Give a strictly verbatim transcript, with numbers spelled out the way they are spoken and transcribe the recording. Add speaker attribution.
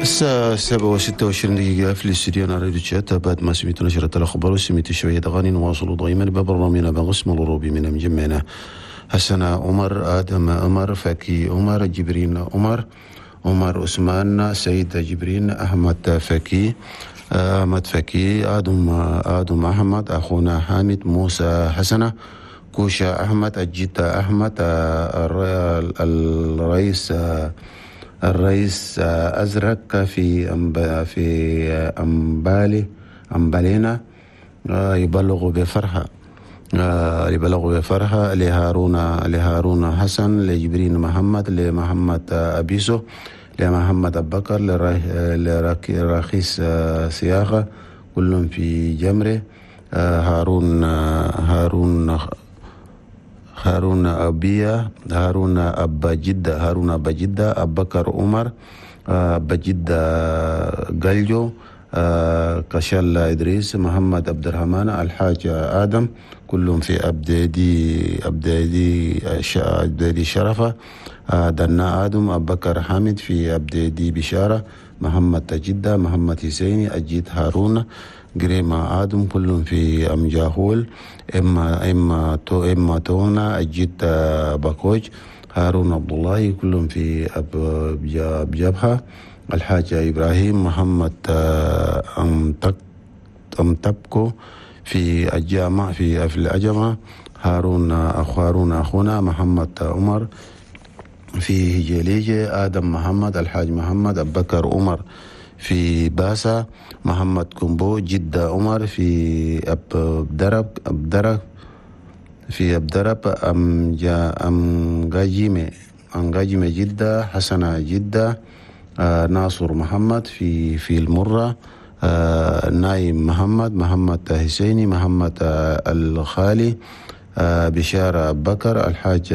Speaker 1: الساعة سبعة وستة وعشرين دقيقة في الاستديو راديو تشاد. بعد ما سمعتوا نشرة الأخبار وسمعتوا شوية أغاني، نواصل دائما ببرنامجنا بقسم الروبي من مجمعنا حسن عمر، آدم عمر، فكي عمر، جبرين عمر، عمر عثمان، سيد جبرين، أحمد فكي، أحمد فكي، آدم آدم أحمد، أخونا حامد موسى حسنة، كوشا أحمد، الجيتا أحمد، الرئيس الرئيس أزرق في في أمبالي أمبالينا، يبلغ بفرحة يبلغ بفرحة لهارون لهارون حسن، لجبرين محمد، لمحمد أبيسو، لمحمد أبو بكر، لرخيص سياغة، كلهم في جمره. هارون هارون هارون أبيا، هارون أبا جدة، هارون أبا جدة، أبو بكر عمر، أبا جدة قلجو، كشال إدريس، محمد عبد الرحمن، الحاج آدم، كلهم في أبدادي أبدادي أبدادي شرفة، دنا آدم، أبو بكر حامد في أبدادي بشارة، محمد جدة، محمد حسيني، أجيد هارون، جريما آدم، كلهم في أمجاهول، إما إما تو إما تونا، أجيد باكوج، هارون عبد الله، كلهم في أب جبهة، الحاج إبراهيم، محمد أمتك أمتبكو في الجامع في في الأجمة، هارون أخو هارون أخونا، محمد عمر في هجليجة، آدم محمد، الحاج محمد، أبو بكر عمر في باسا، محمد كومبو، جدة عمر في أب درب أب درب في أب درب، أم جا أم غاجيمة أم غاجيمة جدة، حسنة جدة، آه ناصر محمد في في المرة، آه نايم محمد، محمد حسيني، محمد آه الخالي، آه بشارة بكر، الحاج